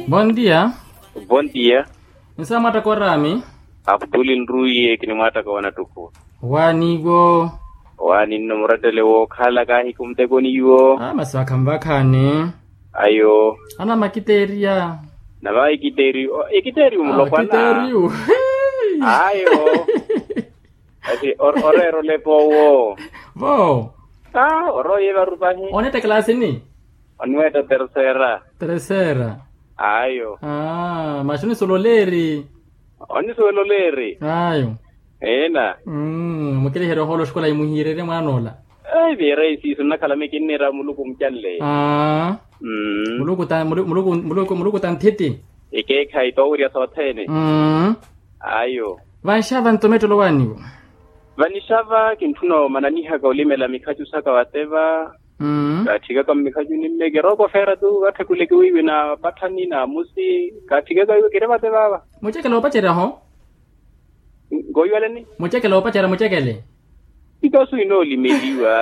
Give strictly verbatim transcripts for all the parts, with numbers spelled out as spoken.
Bondia. Bondia. Nsa mwataka orami. Aputuli nruiye kinimwataka wanattuku. Waniwo. Waninno murattele wookhala kahiku muteko niwo. Masi vakhamvakhani. Ayo. Ana makiteria. Nava ikiterio ikiterio mulopwana. Ayo. Ati oreera olepa owo. Vo. Oroye varupahi. Onetta classini? Oniwetta tercera. Tercera. Ayo. Masi onisuwela oleeri? Onisuwela oleeri. Ayo. Eena. Mukiliherya ohoolo oxikola imuhiirerye mwaana ola. Viira isiisu nnakhala mikinniira muluku mucanle. Muluku ta muluku muluku muluku ta nthiti. Ikeekhayi toowirya sothene. Ayo. Vanxava ntomettelo waaniwo. Vanixava kintthuna omananihaka olimela mikhacu saka vateva. Kaatthikaka mmikhacuni mme kirooko feera tu vatthakuleke wiiwi na patthani na musi. Kaatthikaka wiiwi kiri vateva va. Mucekele oopacerya-ho. Nkooiwaleni. Mucekele oopacerya mucekele. Ntoosu inoolimeliwa.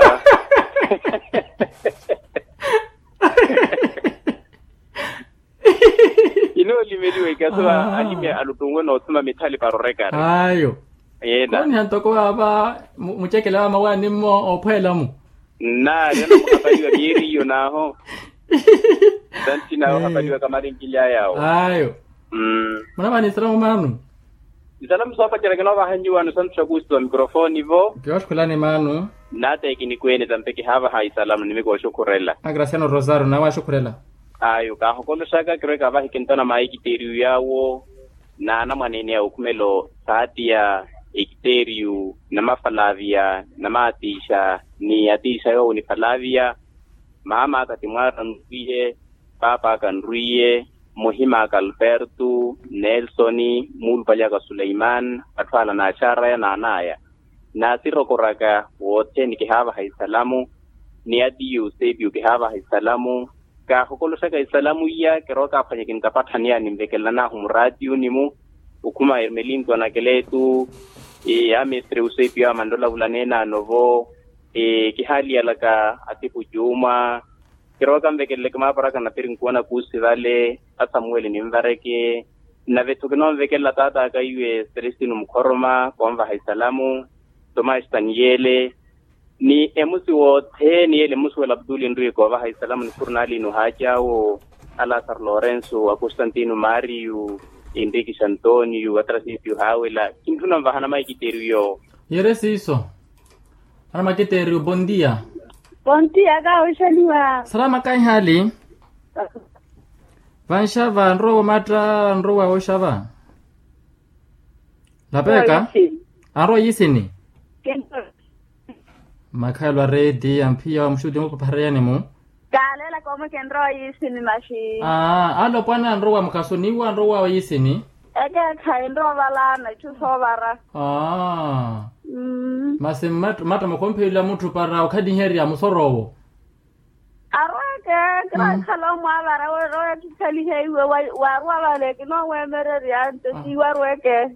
Inoolimeliwa ikaso va alime aluttunwe noothuma mithali para orekari. Ayo. Yeena. Kooniha ntoko vaava mucekele va mawaani mmo oophweela-mu. Nnaari anamuhapaliwa miyeeri iyo naaho. Santhi naawe ohapaliwaka marinkily'aya awo. Ayo. Munavaha ni isalamu maanu. Isalamu soopacerya kinoovaha nyuwaano santhi sakuusiwa mikrofoni vo. Kiyooxukhulani maanu. Nnaata ekinikweene tampe kihaavaha isalamu nimikooxukhurela. Akrasiano rosario nawe axukhurela. Ayo kaahokoloxaka kiroweke avahi kintona maikiteeriyo yaawo. N'anamwaneene ya okhumelo saatiya, ekiteeriyu, namafalaviya, namaatiixa, ni atiixa yoowo ni falaviya. Maam'aka ti mwaara nrwiiye, paap'aka nrwiiye, muhim'aka alpertu, nelsoni, muulupaly'aka suleiman, atthu ala n'axaar'aya n'an'aya. Naasirokoraka wothene kihaavaha isalamu, ni atiyu eusepiyu kihaavaha isalamu. Kaahokoloxaka isalamu iya kirookaphwanya kintapatthani yaani nvekelan'ahu muraatiyuni-mu. Okhuma ermelinto anakeletu, amestre eusepiyu amanrola vulaneene anovo. Kihaliyalaka atipu juuma. Kirooka nvekeleleke maaparaka na pirinkuwa na kuusi vale, asamuweli ninvareke. Nave-tho kinonvekelela taat'aka iwe selestino mukhoroma koonvaha isalamu, tomasi taniyele, ni emusi wothene yeele mmusuwela aputuli enriwe koovaha isalamu ni furnali nuhaaci awo, alasaro lorenso, akostantino mario, enrikis antonio atrasisio haawela kintthuna nvaha namaikiteeriyo. Yere siiso. Ana makiteeriyo bondia. Bondia kaawixeliwa. Salama kaihali. Vanxava anrowa omatta anrowa oxava. Lapeka. Anrowa yisini. Makhayelo a reeti amphiya wa muxuti mupaphareyani-mu. Kaalelaka omwe kinrowa yisini maxi. Alopwana anrowa mukhaso niwo anrowa yisini. Ekeekhayi nrowa ovalaana itthu soovara. Masi mmatta mukhomphiyela mutthu para okhaliherya musoro owo. Arweke kiraakhala omwaavara weroya kikhalihe iwe. Waarwa vale kinoowemererya nto siiwe arweke.